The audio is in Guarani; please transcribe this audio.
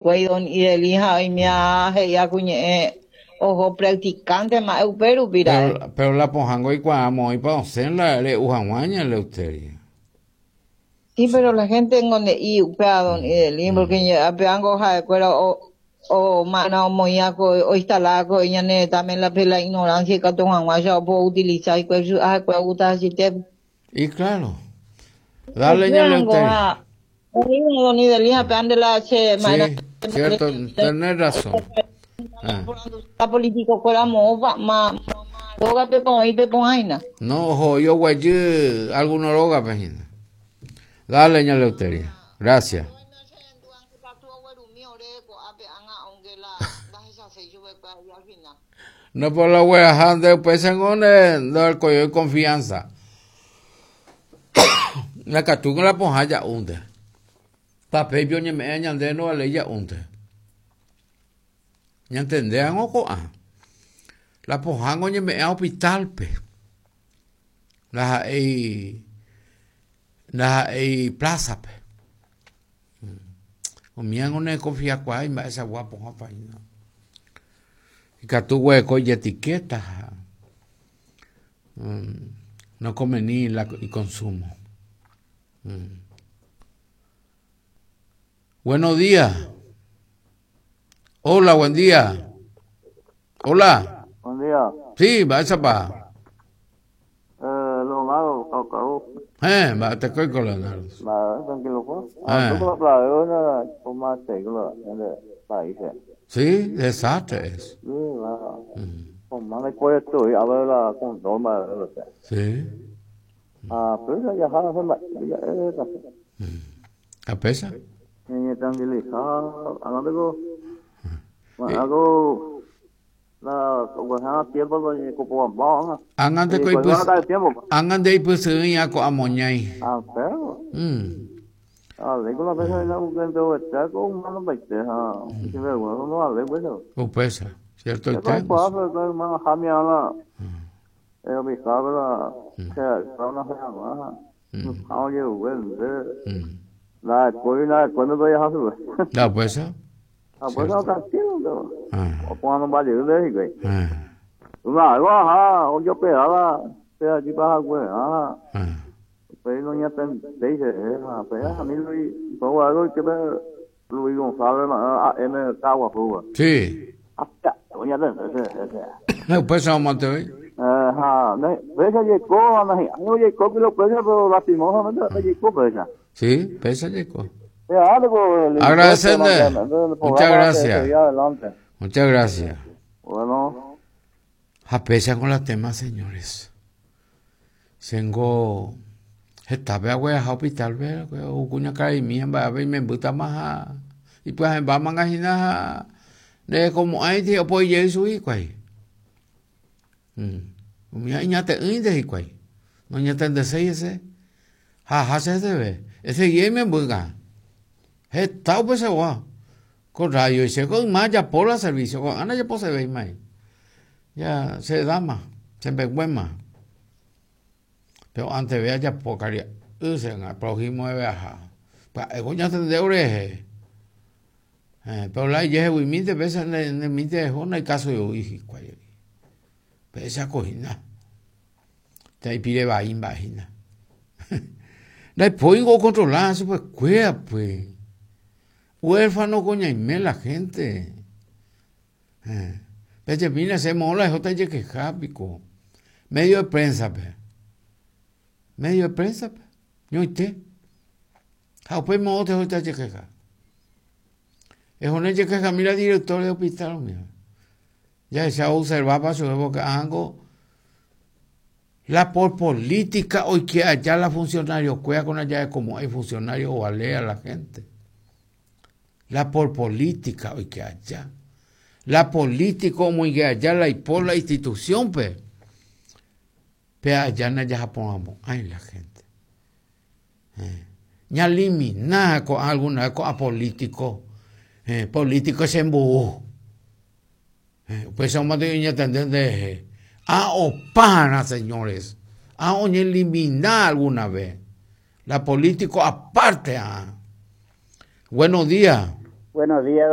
Hikuái don Ideli ha oimea he'íva ku ñe'ẽ oho practicante ma'e upe rupi ra'e. Pero, pero la pohãngo oikuaa moõipa osẽ la re'u hag̃ua ña Eleuteria. Sí, pero la gente ngo nde'i upéva don Ideli, porque pévango ha'ekuéra o o ma'erã omoĩva ko oinstala ko ñane retãme la pe la ignorancia ikatu hag̃uáicha opo utiliza hikuái ha'ekuéra ogusta hasyete. Y claro. Dale ña Eleuteria. Sí, cierto, tenés razón. Ah. No, ojo, yo guayy alguno rógape hína. Dale, ña Leuteria. Gracias. No por la gueraja nde upéicha ngo nde ndorekoiói confianza. Nakatúiko la pohã ja'únte. Tapéipe oñeme'ẽ ñande ndovaléi ja'únte. Ñantendévango ko'ã. La pohãngo oñeme'ẽ hospital-pe. Ndaha'éi ndaha'éi plaza-pe. Umívango nekonfiakuaái mba'eichagua pohãpa hína. Ikatu guereko ijetikéta ha no conveni la iconsumo. Buenos días. Hola, buen día. Hola. Buen día. Sí, mba'éichapa? Eh, Leonardo, Caucaú. Eh, mba'etekóiko Leonardo. Mba'e, tranquilo pues. Ah, tú con la playa, con más países. Sí, desastre es. Sí, la, con más de puesto y a ver la control, más de lo que. Sí. Ah, pero ya ya se la ya ¿A pesa? Ni tranquilizar, hablando con algo la tiempo como Ág̃a nde ipysyrỹi'a ko'a moñái. Ah, pero. Ah, Upéicha, ciertoite. La upéicha. Sí. Upéicha omante voi. Sí, péicha jaiko. Agradecende. Muchas gracias. Muchas gracias. Bueno. Ha péicha con la tema, señores. Chéngo hetápe agueraha hospital-pe ou kuñakaraimi ha mba'épe imembýtama ha ipyahẽmbámanga hína ha nderekomo'ãiti opoi jey chugui hikuái. Umíva iñate'ỹinte hikuái, noñatendeséi hese ha aha che heseve, esegi imembýka. Heta upeichagua ko radio che ko yma ajapo la servicio, ko'ág̃a ndajaposevéimai. Ya che edáma, che mbeguéma. Péro anteve ajapo karia'y che ág̃a prójimo reve aha. Pya'éko oñatende orehe. Péro la ijeheguimínte péicha ndemínte reho ndaikásoi voi hikuái. Péicha ko hína. Térã ipire vai mba'e hína. Ndaipóingo okontrola chupekuéra pues. Huérfano ko ñaime la gente. Pejemína che moõ la ehóta ijekeha piko. Medio de prensa-pe. Medio de prensa-pe. Ñoite. Ha upéi moõ tehóta ijekeha. Ehóne ejekehami la director de hospital umíva. Jahecha oobservápa chupe porque ãngo la por política oike aja la funcionario kuéra ko ndajarekomo'ãi funcionario ovale a la gente. La por política oike aja. La político omoinge aja la ipo la institución-pe. Pe aja ndajahaporãmo'ãi la gente. Ñalimina ko'ã alguna vez ko'ã político, político chembou. Upéicha omante oñatende nderehe. Ha opára, señores. Ha oñelimina alguna vez. La político aparte. Ah. Buenos días. Buenos días.